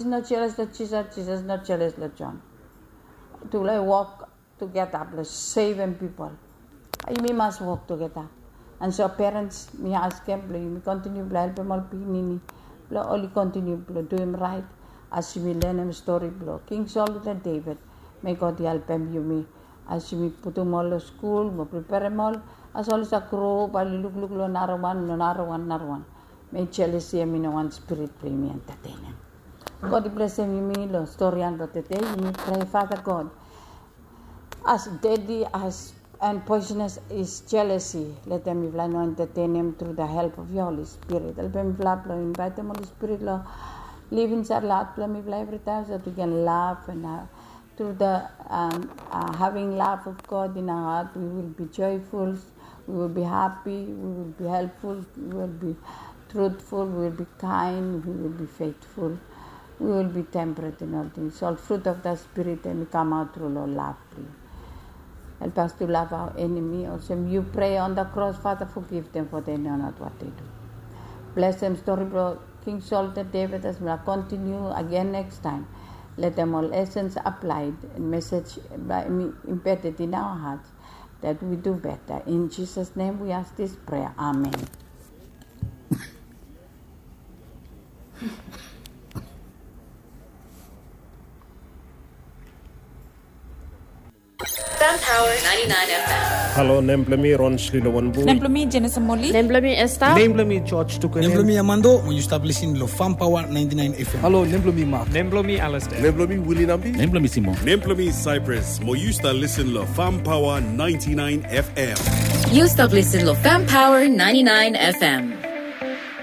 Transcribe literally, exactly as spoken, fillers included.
No jeles long Jisas, Jisas no jeles long Jon. Tufala i wok tugeta blong sevem pipol. Yumi mas wok tugeta. And so parents, mi askem blong yumi kontiniu blong helpem ol pikinini blong oli kontiniu blong duim raet. As yumi lenem stori blong King Sol wetem Deved, mei God i helpem yumi as yumi putum ol long skul mo preperem ol. As oli save gro, bae oli lukluk long narawan, long narawan, narawan. Mei jelesi hemi no wan spirit blong yumi entetenem. God i blesem yumi long storian blong tede. Yumi prea, Father God, as deadly as and poisonous is jealousy, letem mifala no entetenem through the help of your Holy Spirit. Helpem mifala blong invaetem Holy Spirit long liv insaed long hat blong mifala evritaem, so that we can love and uh, through the um, uh, having love of God in our heart, we will be joyful, we will be happy, we will be helpful, we will be truthful, we will be kind, we will be faithful, we will be temperate in all things. All fruit of the Spirit, and come out through love. Help us to love our enemy. Also, you pray on the cross, Father, forgive them, for they know not what they do. Bless them, story bro. King Sol wetem Deved, as we continue again next time. Let them all lessons applied and message by me embedded in our hearts that we do better. In Jesus' name we ask this prayer. Amen. Fam Power ninety-nine F M. Halo, nem blong mi Ron Slilo Wanbu. Nem blong mi Jenisa Moli. Nem blong mi Esther. Nem blong mi George Tuku. Nem blong mi Amando. Mo yu stap lisin long Fam Power ninety-nine F M. Halo, nem blong mi Mark. Nem blong mi Alistair. Nem blong mi Willie Nambi. Nem blong mi Simon. Nem blong mi Cyprus. Mo yu stap lisin long Fam Power ninety-nine F M. Yu stap lisin long Fam Power ninety-nine F M.